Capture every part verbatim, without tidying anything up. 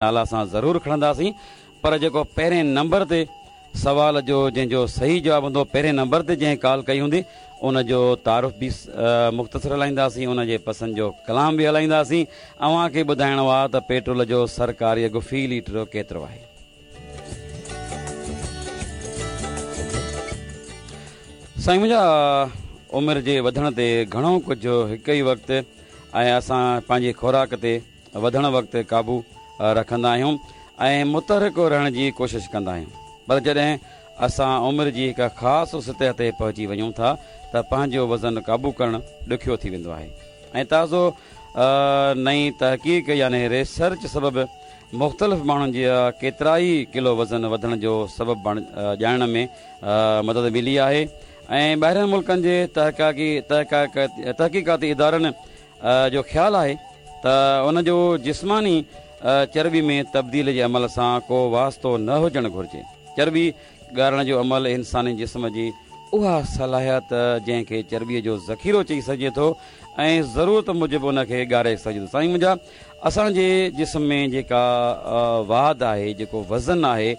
نالا اسان ضرور کڻنداسين، پر جيڪو پهرين نمبر تي سوال جو جنهن جو صحيح جواب هوندو، پهرين نمبر تي جنهن ڪال ڪئي هوندي، ان جو تعارف به مختصر هلائينداسين، ان جي پسند جو ڪلام به هلائينداسين. اوهان کي ٻڌائڻو آهي ته پيٽرول جو سرڪاري اگهه في ليٽر ڪيترو آهي. سائين منهنجا، عمر جي وڌڻ تي گهڻو ڪجهه هڪ ئي وقت ۽ اسان پنهنجي خوراڪ تي وڌڻ وقت قابو رکندا آهيون ۽ متحرڪ رهڻ جي ڪوشش ڪندا آهيون، پر جڏهن اسان عمر جي هڪ خاص سطح تي پهچي وڃون ٿا ته پنهنجو وزن قابو ڪرڻ ڏکيو ٿي ويندو آهي. ۽ تازو نئين تحقيق يعني ريسرچ سبب مختلف ماڻهن جي ڪيترائي ڪلو وزن وڌڻ جو سبب ڄاڻڻ ۾ مدد ملي آهي. ۽ ٻاهرين ملڪن جي تحقيقاتي ادارن جو خيال آهي ته ان جو جسماني چرٻي ۾ تبديلي جي عمل سان ڪو واسطو نه هجڻ گهرجي. چرٻي ڳارڻ جو عمل انساني جسم جي اها صلاحيت جنهن کي چرٻي جو ذخيرو چئي سگهجي ٿو ۽ ضرورت موجب ان کي ڳاري سگهجي ٿو. سائين منهنجا، اسان جي جسم ۾ جيڪا واڌ آهي، جيڪو وزن آهي،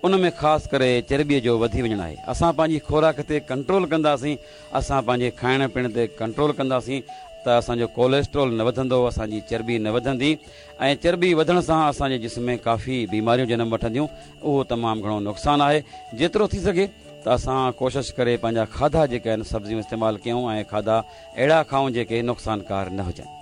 ان ۾ خاص ڪري چرٻي جو وڌي وڃڻ آهي. اسان پنهنجي خوراڪ تي ڪنٽرول ڪنداسين، اسان پنهنجي کائڻ پيئڻ تي ڪنٽرول ڪنداسين ته اسان جو ڪوليسٽرول نه وڌندو، اسان جي چرٻي نه وڌندي، ۽ چرٻي وڌڻ سان اسان جي جسم ۾ ڪافي بيماريون جنم وٺنديون. اهو تمام گهڻو نقصان آهي. جيترو ٿي سگهي ته اسان ڪوشش ڪري پنهنجا کاڌا جيڪي آهن سبزيون استعمال ڪيون ۽ کاڌا اهڙا کائون جيڪي نقصانڪار نه هجن.